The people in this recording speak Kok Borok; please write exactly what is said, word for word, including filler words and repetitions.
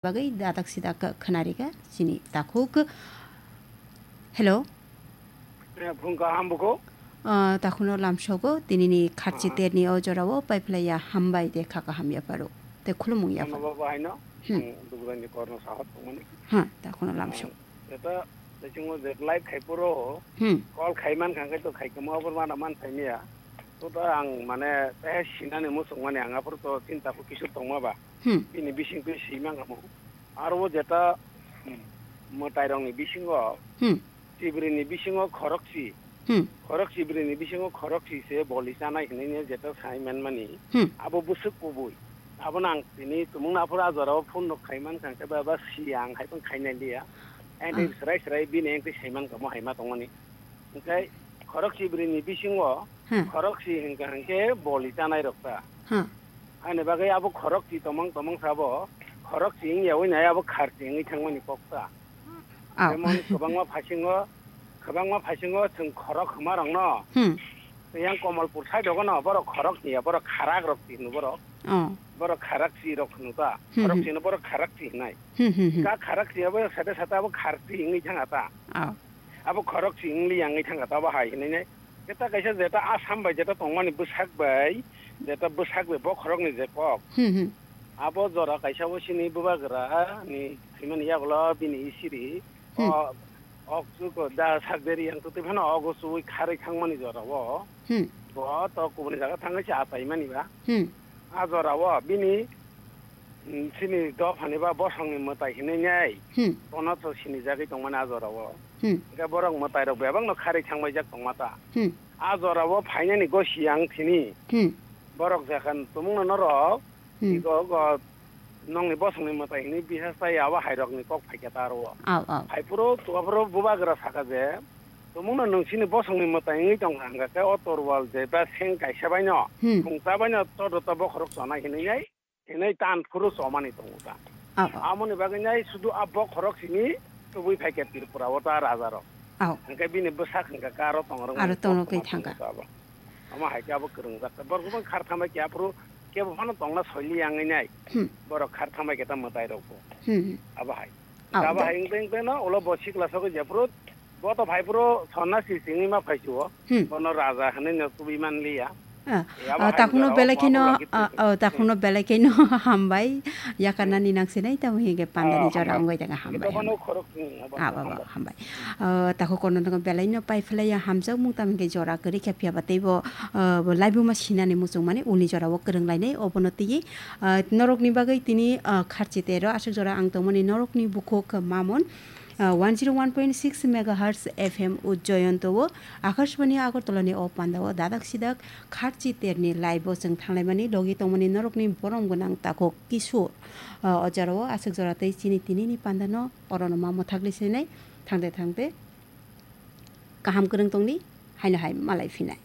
bagwi dadak sidak kha-, khwnarikha chini takhuk. Hello. Eh, phung kaham buko? Ah, takhuno lamsogo, tinini kharchi Ah. terni o jorao paiphlaiya hambai de kha kaham yapharo. Te khulumung Ano yapharo. baba haino, Hmm. ang Dugrani korno sahot tongmani. Ha, takhuno lamsok. Ah, eta, techingo je live khai puro, Hmm. call khai man khang khai to khai kamo abor mana man phaimiya. To ta ang mane, eh, sinani musuk mani ang aphuru to chinta ko kisu tongma ba. Hmm. Bini bising twi sima kamo. Aro o jeta, hmm, mwtairokni bisingo, Hmm. chibrini bisingo khorokchi. Hmm. Khorok chibrini bisingo khorokchi se boli chanai hinwi jeta sai manmani. Hmm. Abo bwswk kubui. Abono ang tini tumungno aphuru a jorao phone rok khai mankha, hwnkhe ba, ba siya ang hai phano khainai liya. Ang tei Ah. srai srai bini ang tei sai mankha, mo hai ma tongmani. Hwnkhe khorok chibrini bisingo Hmm. khorokchi hwnkha hwnkhe boli chanai rok ta. Hmm. Ani bagwi abo khorokchi tomong tomong sabo, khorokchi wngya wngya abo kharchi wngwi thangmani kok ta. Ah. Jemon kwbangma phasingo, kwbangma phasingo chwng khorok hwma rokno. Hmm. Yang Komolpur side o no borok khorok hiya, borok kharak rok hino borok. Oh. Borok kharak chi rok hino ta. Hmm, Khorok hmm. chino borok kharak chi hinai. Hmm, hmm, hmm. Ka kharak chi abo sate sate abo kharchi wngwi thanga ta. Oh. Abo khorok si wngli yang wngwi thangkha, tabo hai hinwi nai. Jeta kaisa jeta Assam bai jeta tongmani bwsak bai, jeta bwsak bai bokhorokni je kok. Hmm, hmm. Abo jora kaisa bo sini bubagra ni thwimani yagulo bini isiri. Hmm. O, ok chuko da sak deri yang tutwi phano ogo chuwi kharwi thangmani jora o. Hmm. Bo to kubuni jaga thangwi se achaimani ba. Hmm. A jora o bini, mm, chini dophani ba bosongni mwtai hinwi nai. Hmm. Bono to sinijagwi tongmani a jora o. Hmm. Hwnkhe borok mwtai rok bebak no kharwi thangbaijak tongma ta. Hmm. A jora o phainani gosi ang thini. Hmm. Borok jakhan tumungno norok, Hmm. iko go nongni bosongni mwtai hinwi bihas tai abo hai rokni kok phaikha ta aro o. Au, au. Hai phuru, to aphuru bubagra sakha je, tumungno nwng chini bosongni mwtai wngwi tongkha hwnkha khe o torwal je ba seng kaisa baino, Hmm. Khungcha baino todo to bokhorok chonai hinwi nai. Hinwi tan phuru chomani tongo ta. Ao, ao. Amoni bagwi nai sudu a bokhorok simi tubui phaikha Tripura o ta raja rok. Ao. Hwnkhe bini bwsak hwnkha khe aro tongrok Aro mani tongrok tongma twi thangkha. Tongo ta abo. Omo hai khe abo kwrwngjak ta. Borok bang khar thambai khe aphuru kebo phano tongna soili yangwi nai. Hmm. Borok khar thambai khe ta mwtai rok bo. Hmm. Abo hai. Ao, Abo da- hai wngtwi wngtwi no ulo bo sikla sogwi jephuru Bo to phai phuru sonnasi singwi ma phai chuo. Hmm. Bono raja hinwi no tubui man liya. Ah, E, abo ah, hai takhukno jora o belai kheno, ma ah, bwlagi ah, takhukno belai kheno hambai. Yakarnani nang sinai tamo hinge pandani Oh, jora hambai. Ongoi daga Hingke hambai, to bono hambai. Khorok, hmm, abo Ah, hambai. Abo hambai. Ah, takhuk kono tongo belai no pai phlai ya hamjak mung tamo hinge jora kwrwi khe phiya ba teibo, ah, bo laibuma sinani muchung mani uni jora o kwrwng lainai obono twi, ah, norok ni bagwi tini, ah, kharchi tero aswk jora ang tongmani norok ni bukhuk mamon. Ah, one zero one point six megahertz F M o Joyonto o Akashbani Agartala ni o panda o dadak sidak kharchi terni live o chwng thanglaimani logi tongmani norokni borom gwnang takhuk kisu. Ah, o jora o aswk jora tei chini tini ni panda no oro no ma mwthakli sinai thangde thangde kaham kwrwng tongni haino hai malai phinai.